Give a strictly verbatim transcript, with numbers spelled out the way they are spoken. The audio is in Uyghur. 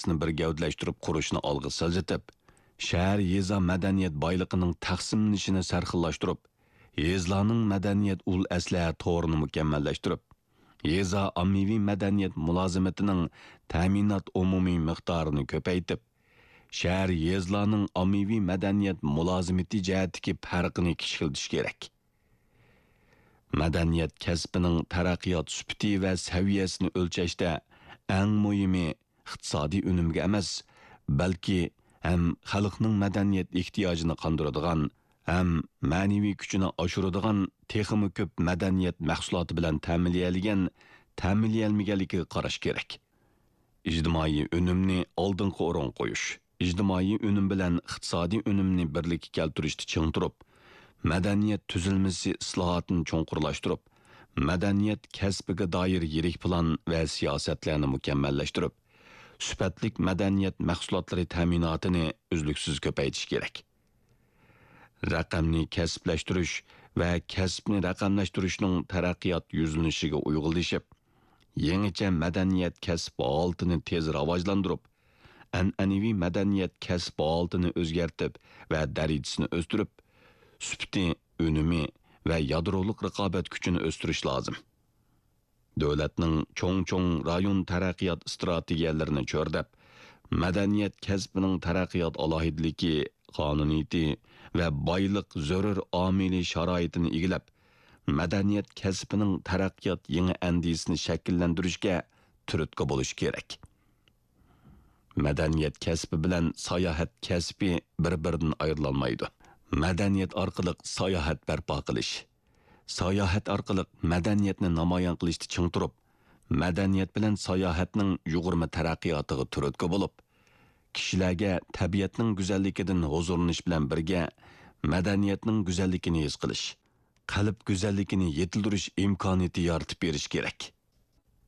سىياسىتىنى بىر گەۋدىلەشتۈرۈپ قۇرۇشنى ئالغا سىلجىتىپ، شەھەر يېزا مەدەنىيەت بايلىقىنىڭ تەقسىملىنىشىنى سەرخىللاشتۇرۇپ، يېزىلارنىڭ مەدەنىيەت ئۇل ئەسلىھە تورىنى مۇكەممەللەشتۈرۈپ، يېزا ئاممىۋى مەدەنىيەت مۇلازىمىتىنىڭ تەمىنات ئومۇمىي مىقدارىنى كۆپەيتىپ، شەھەر يېزىلارنىڭ ئاممىۋى مەدەنىيەت مۇلازىمىتى جەھەتتىكى پەرقىنى كىچىكلىتىش كېرەك. مەدەنىيەت كەسپىنىڭ تەرەققىيات سۈپىتى ۋە سەۋىيەسىنى ئۆلچەشتە ئەڭ مۇھىمى ئىقتىسادىي ئۈنۈمگە ئەمەس، بەلكى ھەم خەلقنىڭ مەدەنىيەت ئېھتىياجىنى قاندۇرىدىغان، ھەم مەنىۋى كۈچىنى ئاشۇرىدىغان تېخىمۇ كۆپ مەدەنىيەت مەھسۇلاتى بىلەن تەمىنلىيەلىگەن، تەمىنلىيەلمىگەنلىكىگە قاراش كېرەك. ئىجتىمائىي ئۈنۈمنى ئالدىنقى ئورۇنغا قويۇش، ئىجتىمائىي ئۈنۈم بىلەن ئىقتىسادىي ئۈنۈمنى بىرلىككە كەلتۈرۈشتە چىڭ تۇرۇپ، مەدەنىيەت تۈزۈلمىسى ئىسلاھاتىنى چوڭقۇرلاشتۇرۇپ، مەدەنىيەت كەسپىگە دائىر يىرىك پىلان ۋە سىياسەتلەرنى مۇكەممەللەشتۈرۈپ، سۈپەتلىك مەدەنىيەت مەھسۇلاتلىرى تەمىناتىنى ئۈزلۈكسىز كۆپەيتىش كېرەك. رەقەمنى كەسىپلەشتۈرۈش ۋە كەسىپنى رەقەملەشتۈرۈشنىڭ تەرەققىيات يۈزلىنىشىگە ئۇيغۇنلىشىپ، يېڭىچە مەدەنىيەت كەسىپ ھالىتىنى تېز راۋاجلاندۇرۇپ، ئەنئەنىۋى مەدەنىيەت كەسىپ ھالىتىنى ئۆزگەرتىپ ۋە دەرىجىسىنى ئۆستۈرۈپ، سۈپىتى، ئۈنۈمى ۋە يادرولۇق رىقابەت كۈچىنى ئۆستۈرۈش لازىم. دۆلەتنىڭ چوڭ-چوڭ رايون تەرەققىيات ئىستراتېگىيەلىرىنى چۆرىدەپ، مەدەنىيەت كەسپىنىڭ تەرەققىيات ئالاھىدىلىكى، قانۇنىيىتى ۋە بايلىق زۆرۈر ئامىلى شارائىتىنى ئىگىلەپ، مەدەنىيەت كەسپىنىڭ تەرەققىيات يېڭى ئەندىزىسىنى شەكىللەندۈرۈشكە تۈرتكە بولۇش كېرەك. مەدەنىيەت كەسپى بىلەن ساياھەت كەسپى بىر-بىرىدىن ئايرىلالمايدۇ. مەدەنىيەت ئارقىلىق ساياھەت بەرپا قىلىش، ساياھەت ئارقىلىق مەدەنىيەتنى نامايان قىلىشتا چىڭ تۇرۇپ، مەدەنىيەت بىلەن ساياھەتنىڭ يۇغۇرما تەرەققىياتىغا تۈرتكە بولۇپ، كىشىلەرگە تەبىئەتنىڭ گۈزەللىكىدىن ھۇزۇرلىنىش بىلەن بىرگە، مەدەنىيەتنىڭ گۈزەللىكىنى ھېس قىلىش، قەلب گۈزەللىكىنى يېتىلدۈرۈش ئىمكانىيىتى يارىتىپ بېرىش كېرەك.